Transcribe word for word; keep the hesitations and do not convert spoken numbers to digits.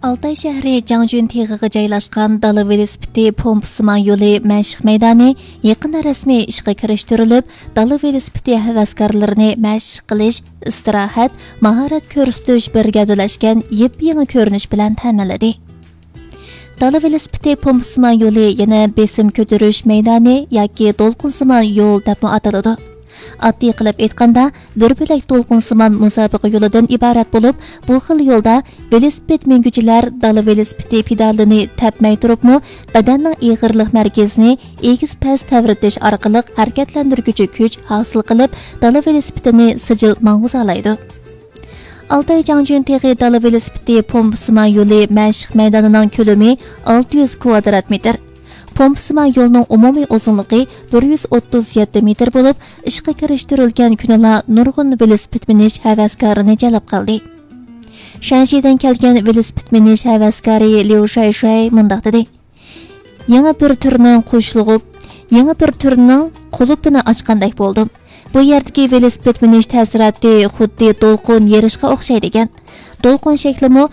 ئالتاي شەھىرى جاڭجۈن تېغىغا جايلاشقان دالا ۋېلىسىپىتى پومپىسىمان يولى مەشىق مەيدانى يېقىندا رەسمىي ئىشقا كىرىشتۈرۈلۈپ، دالا ۋېلىسىپىتى ھەۋەسكارلىرىنى مەشىق قىلىش، ئىستىراھەت، ماھارەت كۆرسىتىش بىر گەۋدىلەشكەن يېپيېڭى كۆرۈنۈش بىلەن تەمىنلىدى. دالا ۋېلىسىپىتى پومپىسىمان يولى يەنە بېسىم كۆتۈرۈش مەيدانى ياكى دولقۇنسىمان يول دەپمۇ ئاتىلىدۇ. ئاددىي قىلىپ ئېيتقاندا، بىر بۆلەك دولقۇنسىمان مۇسابىقە يولىدىن ئىبارەت بولۇپ، بۇ خىل يولدا ۋېلىسىپىت مىنگۈچىلەر دالا ۋېلىسىپىتى پېدالىنى تەپمەي تۇرۇپمۇ، بەدەننىڭ ئېغىرلىق مەركىزىنى ئېگىز-پەس تەۋرىتىش ئارقىلىق ھەرىكەتلەندۈرگۈچى كۈچ ھاسىل قىلىپ، دالا ۋېلىسىپىتىنى سىجىل ماڭغۇزالايدۇ. ئالتاي جاڭجۈن تېغى دالا ۋېلىسىپىتى پومپىسىمان يولى مەشىق مەيدانىنىڭ كۆلىمى ئالتە يۈز كۋادرات مېتىر. پومپىسىمان يولنىڭ ئومۇمىي ئۇزۇنلۇقى بىر يۈز ئوتتۇز يەتتە مېتىر بولۇپ، ئىشقا كىرىشتۈرۈلگەن كۈنىلا نۇرغۇن ۋېلىسىپىت مىنىش ھەۋەسكارىنى جەلپ قىلدى. شەنشىدىن كەلگەن ۋېلىسىپىت مىنىش ھەۋەسكارى ليۇ شايشاي مۇنداق دېدى: يېڭى بىر تۈرنىڭ قوشۇلۇپ، يېڭى بىر تۈرنىڭ قۇلۇپىنى ئاچقاندەك بولدۇم. بۇ يەردىكى ۋېلىسىپىت مىنىش تەسىراتى خۇددى دولقۇن يېرىشقا ئوخشايدىكەن. دولقۇن شەكلىمۇ